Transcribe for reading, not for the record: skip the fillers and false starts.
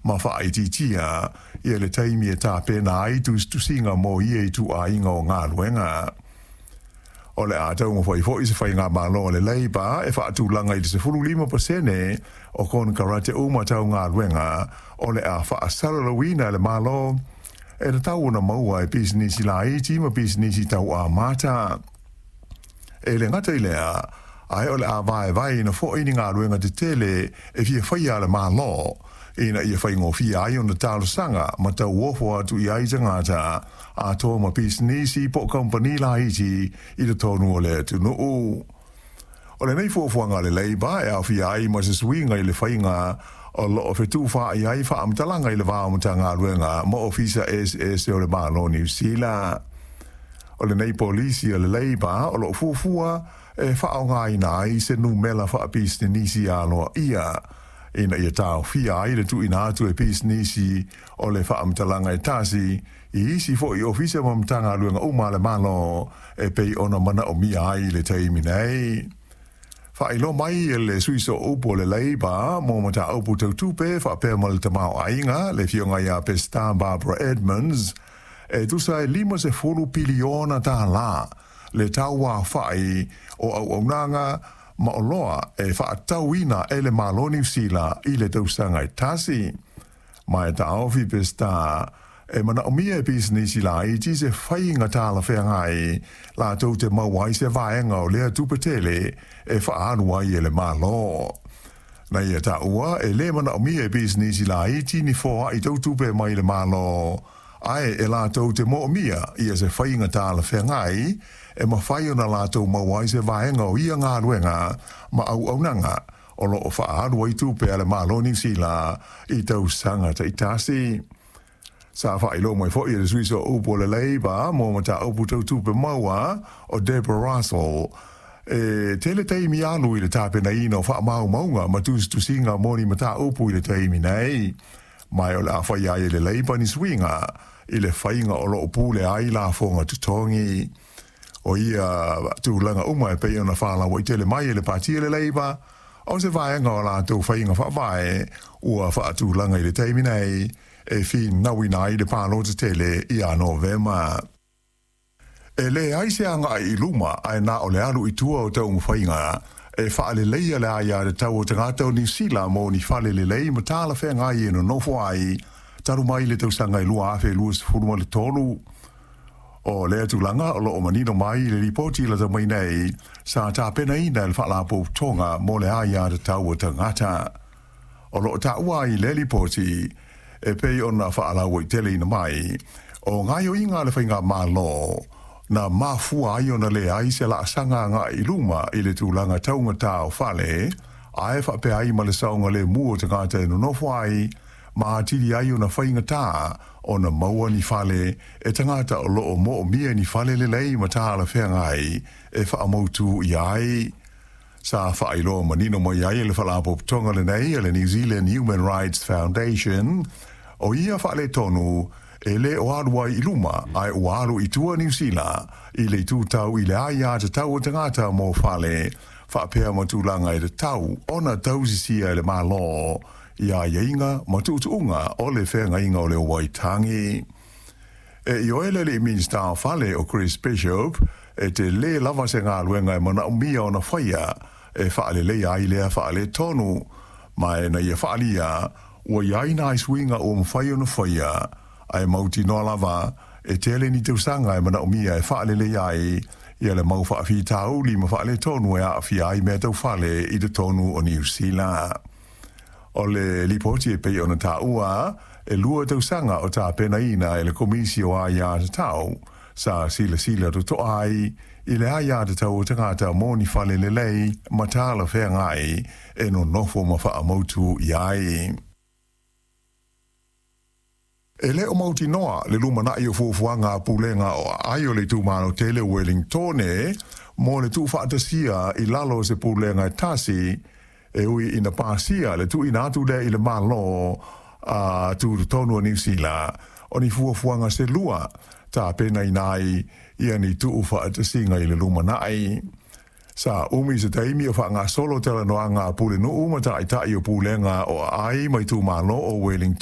ma faaitiitia ia le taimi e tapena ai tusitusiga mo ia ituaiga o galuega. O le a taumafai foi se faigamalo a le Labour e faatulaga i le 15% o konekarate uma tau galuega o le a faasalalauina e le Malo e tatau ona maua e pisinisi laiti ma pisinisi tau amata. E le gata i lea, ae o le a vaevaeina foi ni galuega tetele e fia faia a le Malo ina ia faigofie ai ona talosaga ma tauofo atu i ai tagata atoa ma pisinisi po o kamupani laiti i totonu o le atunuu. O lenei fuafuaga a le Labour e aofia ai ma se suiga i le faiga o loo fetufaai ai faamatalaga i le va o Matagaluega ma Ofisa eseese o le Malo o Niu Sila. O lenei polisi a le Labour o loo fuafua e faaaogaina ai se numela faapisinisi aloaia ina ia taofia ai le tuuina atu e pisinisi o le faamatalaga e tasi i isi foi ofisa ma Matagaluega uma a le Malo e pei ona manaomia ai i le taimi nei. Faailoa mai e le sui sooupu o le Labour mo mataupu tau tupe faapea ma le tamaoaiga, le afioga ia Peseta Barbara Edmonds, e tusa e 50 piliona tālā le tauaofai o auaunaga ma oloa e faatauina e le Malo o Niu Sila i le tausaga e tasi. Ma e taofi Peseta e manaomia e pisinisi laiti se faiga talafeagai latou te maua ai se vaega o lea tupe tele e faaalu ai e le Malo. Na ia taua e lē manaomia e pisinisi laiti ni foai tau tupe mai le Malo, ae e latou te moomia ia se faiga talafeagai e mafai ona latou maua ai se vaega o ia galuega ma auaunaga o loo faaalu ai tupe a le Malo o Niu Sila i tausaga taitasi. Sa faailoa mai foi e le sui sooupu o le Labour mo mataupu tau tupe maua o Deborah Russell, e tele taimi alu i le tapenaina o faamaumauga ma tusitusiga mo ni mataupu i le taimi nei, ma o le a faia ai e le Labour ni suiga i le faiga o loo pule ai lafoga totogi. O ia tulaga uma e pei ona faalauaitele mai e le pati o le Labour, o se vaega o latou faiga faavae ua faatulaga i le taimi nei e finauina ai le palota tele ia Novema. E leai se agai i luma ae na o le alu i tua o taumafaiga e faaleleia le aiatatau o tagata o Niu Sila mo ni fale lelei ma talafeagai e nonofo ai talu mai le tausaga e 2023. O lea tulaga o loo manino mai i le lipoti lata mai nei sa tapenaina e le Faalapotopotoga mo le Aiatatau o Tagata. O loo taua ai i lea lipoti e pei ona faalauaiteleina mai, o gaoioiga a le faigamalo na mafua ai ona leai se laasaga agai i luma i le tulaga taugatā o fale, ae faapea ai ma le saogalemu o tagata e nonofo ai, ma atili ai ona faigata ona maua ni fale e tagata o loo moomia ni fale lelei ma talafeagai e faamautu i ai. Sa faailoa manino mai ai e le faalapotopotoga lenei a le New Zealand Human Rights Foundation, o ia faaletonu e le o alu ai i luma ae ua alu i tua Niu Sila i le itu tau i le aiatatau o tagata mo fale faapea ma tulaga e tatau ona tausisia e le Malo i aiaiga ma tuutuuga o le feagaiga o le Waitangi. E ioe le alii Minisita o Fale o Chris Bishop e telē lava se galuega e manaomia ona faia e faaleleia ai lea faaletonu, ma e na ia faaalia ua i ai nai suiga ua mafai ona faia, ae mautinoa lava e tele ni tausaga e manaomia e faaleleia ai ia le mau faafitauli ma faaletonu e aafia ai mea tau fale i totonu o Niu Sila. O le lipoti e pei ona taua, e 2 tausaga o tapenaina e le Komisi o Aiatatau sa silasila totoa ai i le aiatatau o tagata mo ni fale lelei ma talafeagai e nonofo ma faamautu i ai. E le o mautinoa le lumanai o fuafuaga a pulega o aai o le itumalo tele o Wellingtone mo le tuufaatasia i lalo o se pulega e tasi, e ui ina pasia le tuuina atu lea i le Malo a tutotonu o Niu Sila o ni fuafuaga se lua tapenaina ai ia ni tuufaatasiga i le lumanai. Sa umi se taimi o faagasolo talanoaga a pulenuu ma taitai o pulega o aai ma itumalo o Wellingtone.